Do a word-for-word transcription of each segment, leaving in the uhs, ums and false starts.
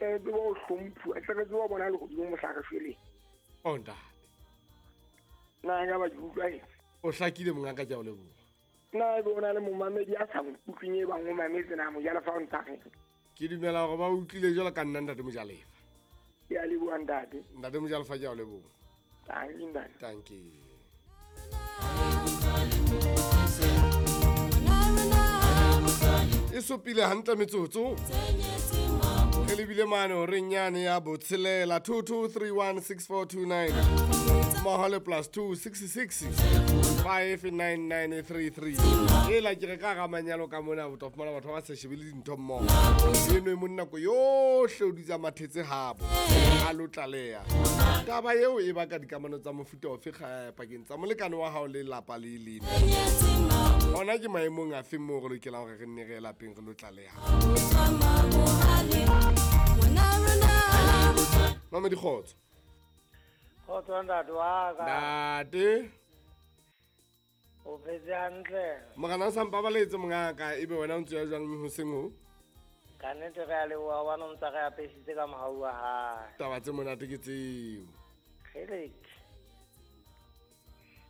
tle re tsebe ho hlomphuwa, tle re tsebe ho bona lehodimo mohla re shweleng. O ntate. Na nka ba ke utlwahetse? O hlakile mongaka, ke a o leboha. Na ebe o na le momamedi a sa nkutlweng e bang o mametse na Mojalefa o ntsa reng? Ke dumela hore ba utlwile jwalo ka nna ntate Mojalefa. Ke a leboha ntate. Ntate Mojalefa, ke a o leboha. Tanki ntate. Tanki. E supile hantle metsotso. Re lebile mane horeng yane ya botshelela two two three one six four two nine mmoho le plus two six six five nine nine three three. Ela ke re ka hara manyalo ka mona o tla fumana batho ba sa shebele dintho mmoho. Eno e monna nako yohle o dutse a mathetse habo a lo tlaleha. Taba eo e baka dikamano tsa mofuta ofe pakeng tsa molekane wa hao le lelapa le leng. Hona ke maemong afe moo re lokelang hore re nne re ye lapeng re lo tlaleha? Mama Dikgotso. Kgotso ntate wa ka. Ntate. O phetse hantle. Morena o sa mpabaletse mongaka, ebe wena o ntse ya jwang hoseng ho? Ka nnete re a leboha hobane o ntsa re apesitse ka mohau wa hae. Taba tse monate ke tseo. Kgelek.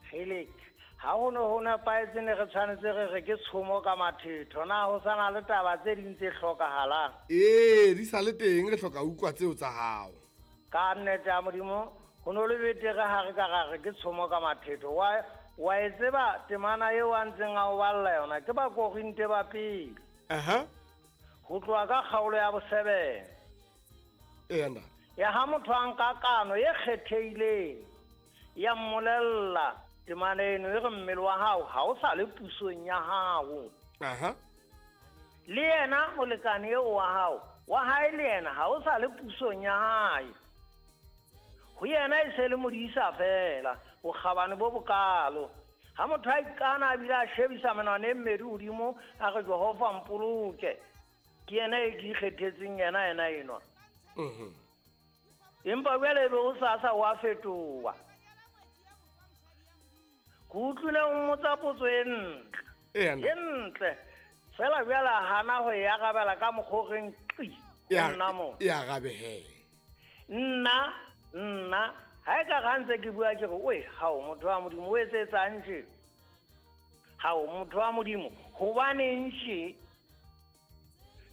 Kgelek. Ha ho ne ho nepahetse ne re tshwanetse re re ke tshomo ka mathetho. Na ho sa na le taba tse ding tse hlokahalang? Ee, di sa le teng, re hloka utlwa tseo tsa hao. Ka nnete ya Modimo, ho no le betere ha re ka ra re ke tshomo ka mathetho. Wa, wa e tseba temana eo a ntseng a o balla yona ke Bakorinte ba pele. Aha. Ho tloha ka kgaolo ya bosebene. Eya ntate. Ya ha motho a nka kano e kgethehileng ya mmolella temana eno e re mmele wa hao ha o sa le pusong ya hao. Aha. Le yena molekane eo wa hao, wa hae le yena ha o sa le pusong ya hae. Ho yena e se le modisa fela, bokgabane bo bokalo. Ha motho a ikana a bile a shebisa menwana e mmedi hodimo a re Jehova mpoloke. Ke yena e ke ikgethetseng yena yena enwa. Mhm. Empa jwale ebe ho sasa wa fetoha. Ke utlwile o mmotsa potso e ntle. Eya, E ntle. Fela jwale a hana ho e arabela ka mokgwa o reng qi. E Nna mo. E arabe he. Nna, nna, ha e ka re ha ntse ke bua ke re, oe, hao motho wa Modimo o etsetsang tje? Hao motho wa Modimo, hobaneng tje?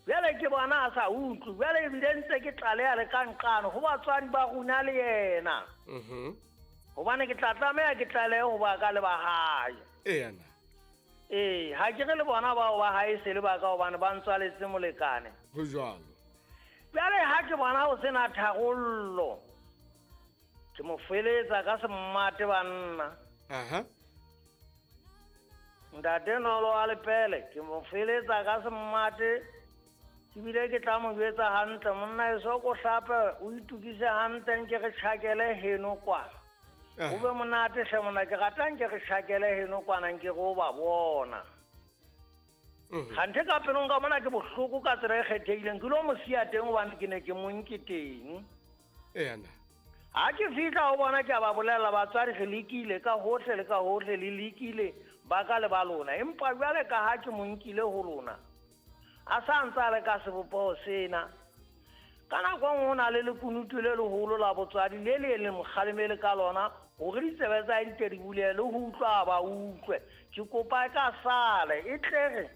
Jwale ke bona a sa utlwe, jwale ebile ntse ke tlaleha le ka nqano ho batswadi ba rona le yena. Mhm. Hobane ke tla tlameha ke tlalehe ho ba ka le ba hae. Eya na. Ee, ha ke re le bona bao ba hae se le ba ka hobane ba ntswaletse molekane. Ho jwalo. Jwale ha ke bona ho sena tharollo, ke mo feletsa ka semmate banna. Aha. Ntate Nolo wa Lepele, ke mo feletsa ka semmate. Ebile ke tla mo jwetsa hantle, monna eso ko hlape, o itukise hantle nke re tjhakele heno kwana. Ah. O be monate hle monna, ke rata nke re tjhakele heno kwana nke re o ba bona. Mhm. Kganthe ka pelong ka mona ke bohloko ka tsela e kgethehileng, ke lo mo siya teng hobane ke ne ke mo nke teng. Eya na. Ha ke fihla ho bona ke a ba bolella batswadi re lekile ka hohle le ka hohle le lekile ba ka le ba lona, empa jwale ka ha ke mo nkile ho lona a sa ntse a le ka sebopeho sena. Ka nako e nngwe ho na le lekunutu le leholo la botswadi le le leng mokgalemele ka lona hore ditsebe tsa hae di tle di bulehe le ho utlwa ba utlwe. Ke kopa e ka sale e tle re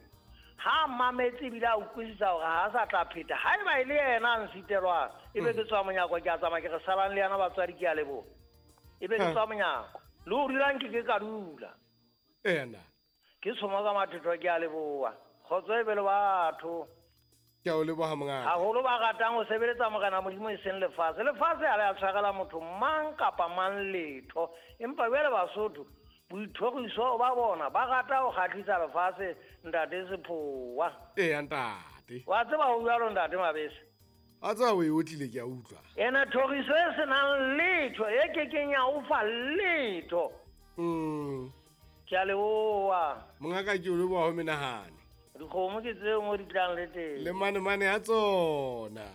ha a mametse ebile a utlwisisa hore ha a sa tla pheta. Haeba e le yena a nsitelwang, ebe ke tswa monyako ke a tsamaya ke re salang le yena batswadi ke a leboha. Ebe ke tswa monyako. Le ho dula nke ke ka dula. Eya na. Ke tshomo ka mathetho ke a leboha. Kgotso e be le batho. Ke a o leboha mongaka. Haholo ba ratang ho sebeletsa Morena Modimo e seng lefatshe. Lefatshe ha le a tshwarela motho mang kapa mang letho. Empa jwale Basotho, boithoriso ba bona ba rata ho kgahlisa lefatshe ntate Sephowa. Eya ntate. Wa tseba ho jwalo ntate Mabese? A tseba o e otlile ke a utlwa. Ena thoriso e senang letho e kekeng ya o fa letho. Mm. Ke a leboha. Mongaka ke o leboha ho menahane. Dikgomo ke tseo mo di tlang le teng. Le mane mane a tsona.